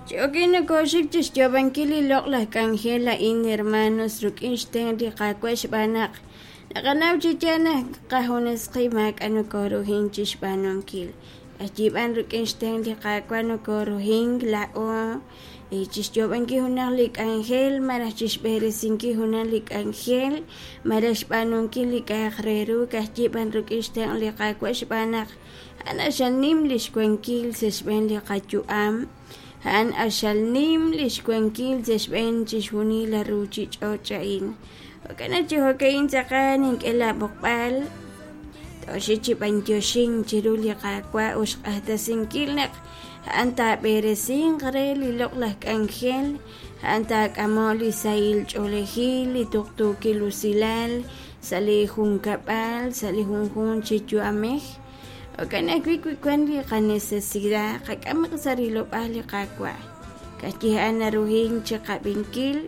Chi jo'kan nokooxik chi xyoob'ankil li loq'laj k'anjel a'in, hermanos, rik'in xtenq' li Qaawa' xb'aan naq naqanaw chi yaal naq qajunes qib' maak'a' nokooruhink chi xb'aanunkil. K'ayiib'an rik'in xtenq' li Qaawa' nokooruhink laa'o chi xyoob'ankil junaq li k'anjel malaj chi xb'eresinkil junaq li k'anjel malaj xb'aanunkil li k'a'aq re ru ka'ajyiib'an rik'in xtenq' li Qaawa' xb'aan naq a'an q'axal nim li xwankil sa' xb'een li qayu'am, a'an q'axal nim li xwankil sa' xb'een chixjunil li ruuchich'och' a'in. Jo'kan naq chi jo'ka'in tz'aqal nink'e laab'oqb'al tooxik chi b'anyoxink chiru li Qaawa' ut xq'axtesinkil naq a'an taab'eresinq re li loq'laj k'anjel, a'an taak'amoq li sahil ch'oolejil, li tuqtuukil usilal sa' li junkab'al, sa' li junjunq chi yu'amej. Jo'kan ajwi' wi wank li qanecesidad, qak'amaq sa' rilob'aal li Qaawa'. Ka'ajwi' a'an naruhink chi qab'inkil,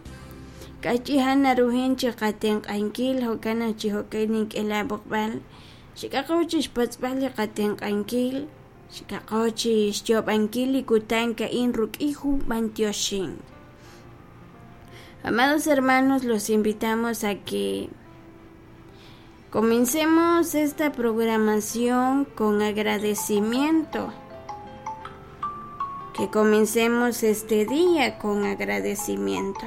ka'ajwi' a'an naruhink chi qatenq'ankil, jo'kan naq chi jo'kan nink'e laab'oqb'al, xik'aqo chi xpatz'b'al li qatenq'ankil, xik'aqo chi xyoob'ankil li kutan a'in rik'in jun b'antioxink. Amados hermanos, los invitamos a que comencemos esta programación con agradecimiento. Que comencemos este día con agradecimiento.